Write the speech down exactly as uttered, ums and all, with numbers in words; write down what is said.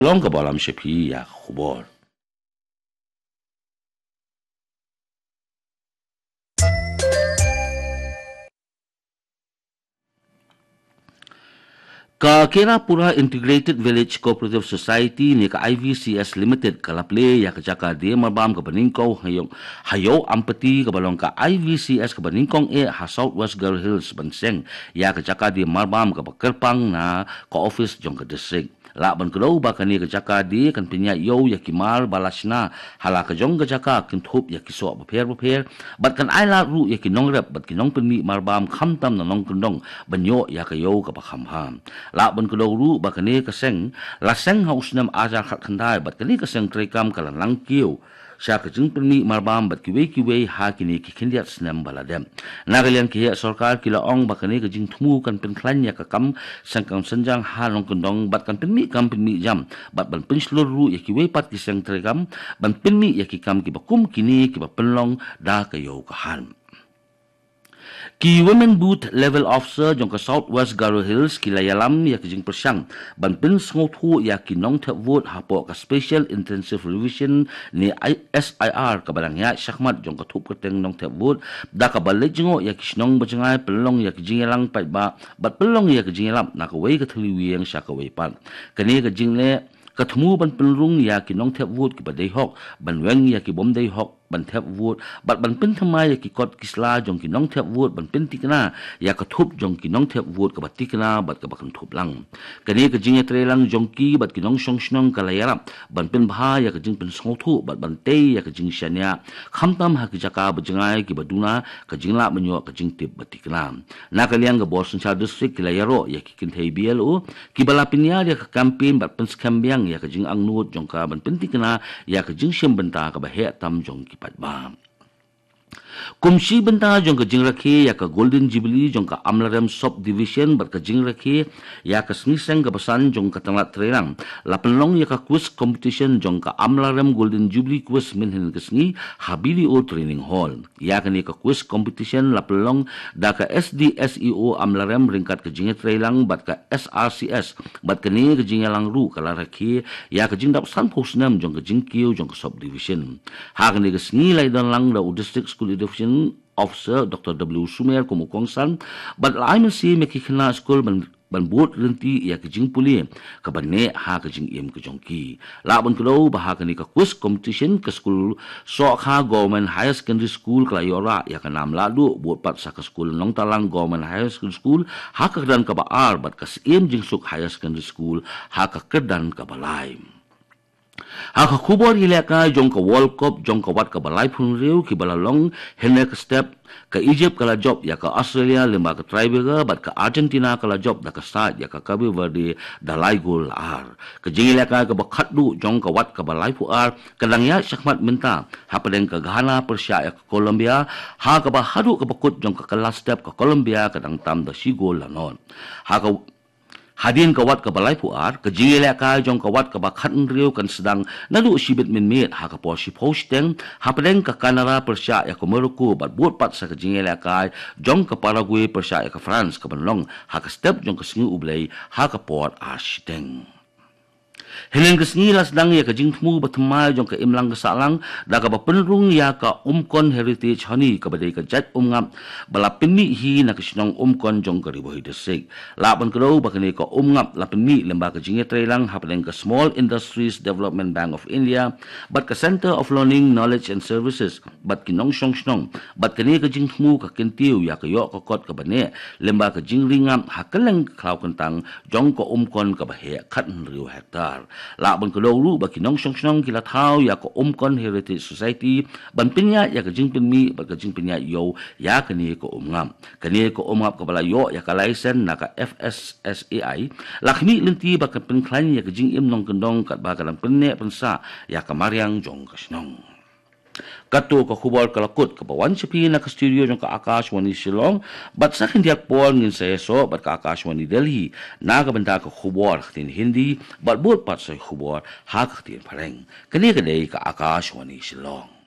Long ka balam shapi ya ka khubor. Ka Kerapura Integrated Village Cooperative Society ne ka I V C S Limited ka la plie ya ka jaka die marbam ka Banyngkong ha Ïew, ha Ïew Ampati ka ba long ka I V C S ka Banyngkong e ha South West Garo Hills ban seng ya ka jaka die marbam ka ba kyrpang na ka office jong ka district. Lah ban kdew ba kane ka jaka die kan pynïaid ïew ya ki mar ba la shna ha la ka jong ka jaka, kynthup ya ki soh bapher bapher, bad kan ai lad ruh ya ki nongrep bad ki nongpynmih marbam khamtam na nongkyndong ban ïoh ya ka ïew ka ba kham bha. Lah ban kdew ruh ba kane ka seng la seng ha u snem ar hajar khatkhyndai bad kane ka seng treikam ka la nang kiew sha ka jingpynmih marbam bad kiwei kiwei ha kine ki khyndiat snem ba la dep. Na ka liang ki heh sorkar ki la ong ba kane ka jingthmu kan pynkhlaiñ ya ka kam seng kam synjang ha nongkyndong bad kan pynmih kam pynmih jam bad ban pynshlur ruh ya kiwei pat ki seng treikam ban pynmih ya ki kam ki ba kum kine ki ba pynlong da ka ïew ka han. Ki Women Booth Level Officer jong ka South West Garo Hills ki la ïalam ya ka jingpyrshang ban pynsngewthuh ya ki nongthep vote hapoh ka Special Intensive Revision ne I-, S I R ka ba dang ïaid shakhmat jong ka thup kyrteng nongthep vote, da ka ba leit jngoh ya ki shnong ba jngai, pynlong ya ka jingïalang paidbah bad pynlong ya ka jingïalap na kawei ka thylli ïing sha kawei pat. Kane ka jingleh ka thmu ban pynrung ya ki nongthep vote ki ba dei hok ban weng ya ki bym dei hok ban thep vote bad ban pynthymmai ya ki kot ki sla jong ki nongthep vote ban pyntikna ya ka thup jong ki nongthep vote ka ba tikna bad ka ba kynthup lang. Kane ka jingïatreilang jong ki bad ki nongshong shnong ka la ïarap ban pynbha ya ka jingpynsngewthuh bad ban tei ya ka jingshaniah khamtam ha ki jaka ba jngai ki ba duna ka jinglah ban ïoh ka jingtip ba tikna. Na ka liang ka bor synshar district ki la ïaroh ya ki kynthei B L O ki ba la pynïar ya ka campaign bad pynskhem biang ya ka jingangnud jong ka ban pyntikna ya ka jingshim bynta ka ba heh tam jong ki paidbah. Kum shi bynta jong ka jingrakhe ya ka Golden Jubilee jong ka Amlarem Subdivision bad ka jingrakhe ya ka sngi seng ka ba san jong ka tnat treilang, la pynlong ya ka quiz competition jong ka Amlarem Golden Jubilee Quiz mynhynnin ka sngi ha B D O Training Hall. Ya kane ka quiz competition la pynlong da ka S D S E O Amlarem ryngkat ka jingïatreilang bad ka S R C S, bad kane ka jingïalang ruh ka la rakhe ya ka jingdap sanphew snem jong ka jingkiew jong ka subdivision. Ha kane ka sngi la ïadonlang da u District School Education Officer Doctor W Sumer kum u kongsan, bad la ai mynsiem ya ki khynnah skul ban ban bud lynti ya ka jingpule ka ba neh ha ka jingim ka jong ki. Lah ban kdew ba ha kane ka quiz competition ka skul Sohkha Government Higher Secondary School ka la ïoh rah ya ka nam lahduh, bud pat sa ka skul Nongtalang Government Higher Secondary School ha ka kyrdan ka ba ar bad ka Syiem Jingsuk Higher Secondary School ha ka kyrdan ka ba lai. Ha ka khubor ïalehkai jong ka World Cup jong ka wat ka ba laiphew hynriew ki ba la long, hynne ka step ka Egypt ka la jop ya ka Australia lyngba ka tiebreaker, bad ka Argentina ka la jop da ka side ya ka Cape Verde da lai gol la ar. Ka jingïalehkai ka ba khatduh jong ka wat ka ba laiphew ar ka dang ïaid shakhmat mynta hapdeng ka Ghana pyrshah ya ka Colombia, ha ka ba haduh ka ba kut jong ka kylla step ka Colombia ka dang tam da shi gol la nod. Ha ka Hadien ka wat ka ba laiphew ar, ka jingïalehkai jong ka wat ka ba khathynriew kan sdang naduh shibit mynmiet ha ka por shiphew shiteng hapdeng ka Canada pyrshah ïa ka Morocco, bad bud pat sa ka jingïalehkai jong ka Paraguay pyrshah ïa ka France ka ban long ha ka step jong ka sngi U Blei ha ka por ar shiteng. Hynnin ka sngi la sdang ïa ka jingthmu ba thymmai jong ka imlang ka sahlang da ka ba pynrung ïa ka Umkon Heritage Honey, ka ba dei ka jait umngap ba la pynmih hi na ka shnong Umkon jong ka Ri Bhoi District. Lah ban kdew ba kane ka umngap la pynmih lyngba ka jingïatreilang hapdeng ka Small Industries Development Bank of India bad ka Centre of Learning, Knowledge and Services bad ki nongshong shnong, bad kane ka jingthmu ka kyntiew ïa ka ïoh ka kot ka ba neh lyngba ka jingringap ha kylleng ka khlaw kyntang jong ka Umkon ka ba heh khathynriew hektar. Lah ban kdew ruh ba ki nongshong shnong ki la thaw ïa ka Umkon Heritage Society ban pynïaid ïa ka jingpynmih bad ka jingpynïaid ïew ïa kane ka umngap. Kane ka umngap ka ba la ïoh ïa ka license na ka F S S A I la khmih lynti ba kan pynkhlaiñ ïa ka jingim nongkyndong katba ka dang pynneh pynsah ïa ka mariang jong ka shnong. Kato ka khubor ka la kut ka ba wan sha phi na ka studio jong ka Akashvani Shillong, bad sa khyndiat por ngin sa ïasoh bad ka Akashvani Delhi na ka bynta ka khubor ha ka ktien Hindi, bad bud pat sa khubor ha ka ktien Phareng. Kane ka dei ka Akashvani Shillong.